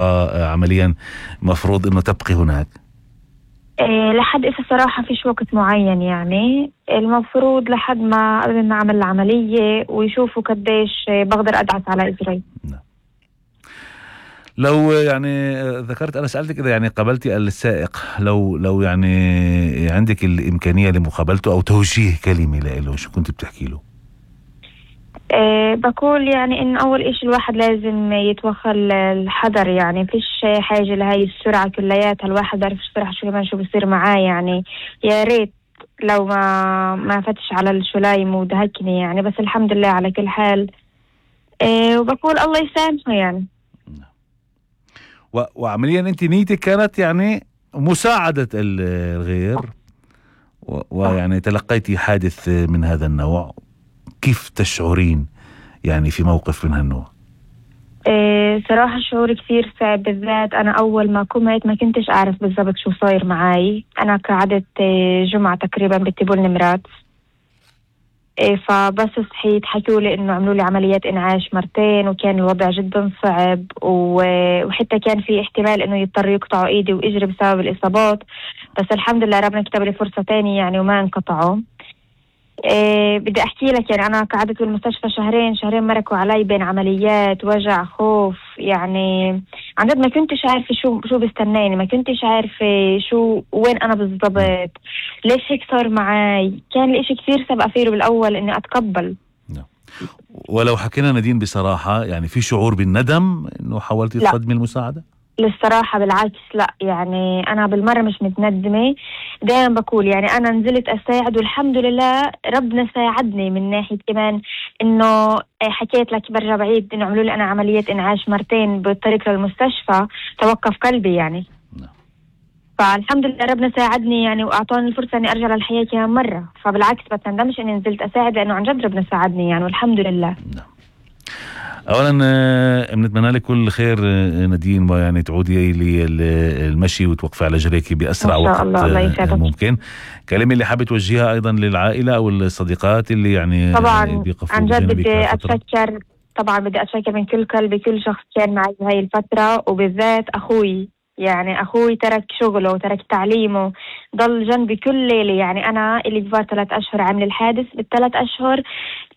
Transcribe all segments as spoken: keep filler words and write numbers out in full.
آه عمليا مفروض أنه تبقي هناك؟ إيه لحد إذا صراحة فيش وقت معين، يعني المفروض لحد ما قبل ما أعمل العملية ويشوفوا قديش بقدر أدعس على إجري. نعم. لو يعني ذكرت أنا سألتك إذا يعني قابلتي السائق، لو لو يعني عندك الإمكانية لمقابلته أو توجيه كلمة له، شو كنت بتحكي له؟ أه بقول يعني إن أول إشي الواحد لازم يتوخى الحذر، يعني فيش حاجة لهاي السرعة كلياتها، الواحد بيعرف السرعة شو كمان شو بصير معاه. يعني يا ريت لو ما ما فتش على الشلايم ودهكني يعني، بس الحمد لله على كل حال. أه وبقول الله يسامحه يعني. و... وعمليا أنت نيتك كانت يعني مساعدة الغير، و... ويعني تلقيتي حادث من هذا النوع، كيف تشعرين يعني في موقف من هالنوع؟ إيه صراحة شعور كثير صعب، بالذات أنا أول ما قمت ما كنتش أعرف بالضبط شو صاير معاي. أنا قعدت جمعة تقريبا بتبول نمرات، إيه فبس صحيت حكوا لي إنه عملوا لي عمليات إنعاش مرتين، وكان الوضع جدا صعب، وحتى كان في احتمال إنه يضطر يقطعوا إيدي وإجري بسبب الإصابات، بس الحمد لله ربنا كتب لي فرصة تانية يعني وما انقطعوا. إيه بدي أحكي لك يعني أنا قعدت بالمستشفى شهرين شهرين مركوا علي بين عمليات، وجع، خوف، يعني عن جد ما كنتش عارفة شو شو بستناني، ما كنتش عارفة شو وين أنا بالضبط، ليش هيك صار معاي. كان الإشي كثير صعب أفيره بالأول إني أتقبل. ولو حكينا نادين بصراحة، يعني في شعور بالندم إنه حاولتي تقدمي المساعدة؟ للصراحة بالعكس لا، يعني أنا بالمرة مش متندمة. دائما بقول يعني أنا نزلت أساعد والحمد لله ربنا ساعدني، من ناحية كمان إنه حكيت لك برجع بعيد إنه عملوا لي أنا عملية إنعاش مرتين بالطريق للمستشفى، توقف قلبي يعني. فالحمد لله ربنا ساعدني يعني وأعطاني الفرصة إني أرجع للحياة كمان مرة، فبالعكس بتندمش إني نزلت أساعد لأنه عن جد ربنا ساعدني يعني والحمد لله. اولا بنتمنى لك كل خير نادين، ويعني تعودي للمشي وتوقفي على جريكي باسرع وقت ممكن. كلمه اللي حابه توجهها ايضا للعائله او الصديقات اللي يعني طبعا عن جد بدي اتشكر، طبعا بدي اتشكر من كل قلبي كل شخص كان معي بهاي الفتره، وبالذات اخوي. يعني أخوي ترك شغله وترك تعليمه، ضل جنبي كل ليلة. يعني أنا اللي كبار ثلاث أشهر عامل الحادث، بالثلاث أشهر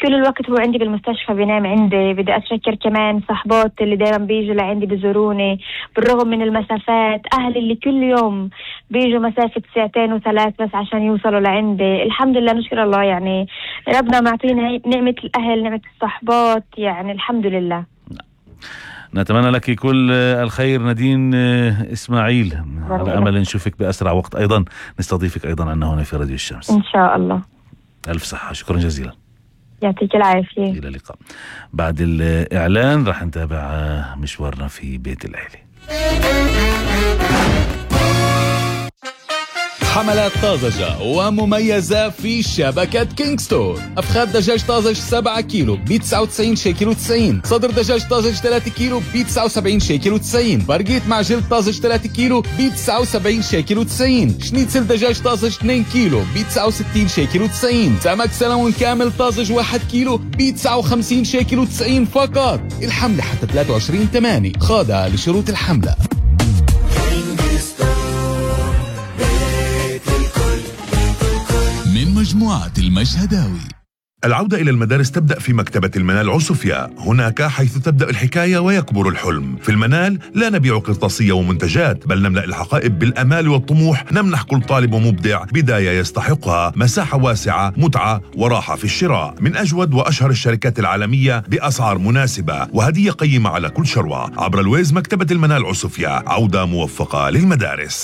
كل الوقت هو عندي بالمستشفى بينام عندي. بدي أتشكر كمان صحبات اللي دايما بيجوا لعندي بيزوروني بالرغم من المسافات، أهلي اللي كل يوم بيجوا مسافة ساعتين وثلاث بس عشان يوصلوا لعندي. الحمد لله نشكر الله، يعني ربنا معطينا نعمة الأهل نعمة الصحبات، يعني الحمد لله. نتمنى لك كل الخير نادين إسماعيل، على أمل نشوفك بأسرع وقت، أيضا نستضيفك أيضا عنا هنا في راديو الشمس إن شاء الله. ألف صحة، شكرا جزيلا، يعطيك العافية. إلى اللقاء. بعد الإعلان رح نتابع مشوارنا في بيت العيلة. حملات طازجة ومميزة في شبكة كينج ستور. أفخاذ دجاج طازج سبعة كيلو ب تسعة وتسعين شيكل وتسعين، صدر دجاج طازج ثلاثة كيلو ب تسعة وسبعين شيكل وتسعين، برقيت مع جلد طازج ثلاثة كيلو ب تسعة وسبعين شيكل وتسعين، شنيتسل دجاج طازج اثنين كيلو ب تسعة وستين شيكل وتسعين، سمك سلمون كامل طازج واحد كيلو ب تسعة وخمسين شيكل وتسعين فقط. الحملة حتى ثلاثة وعشرين ثمانية، خاضعة لشروط الحملة. من مجموعة المشهداوي. العودة إلى المدارس تبدأ في مكتبة المنال عسوفيا، هناك حيث تبدأ الحكاية ويكبر الحلم. في المنال لا نبيع قرطاسية ومنتجات، بل نملأ الحقائب بالأمال والطموح، نمنح كل طالب ومبدع بداية يستحقها، مساحة واسعة، متعة وراحة في الشراء، من أجود وأشهر الشركات العالمية بأسعار مناسبة وهدية قيمة على كل شروة. عبر الويز مكتبة المنال عسوفيا، عودة موفقة للمدارس.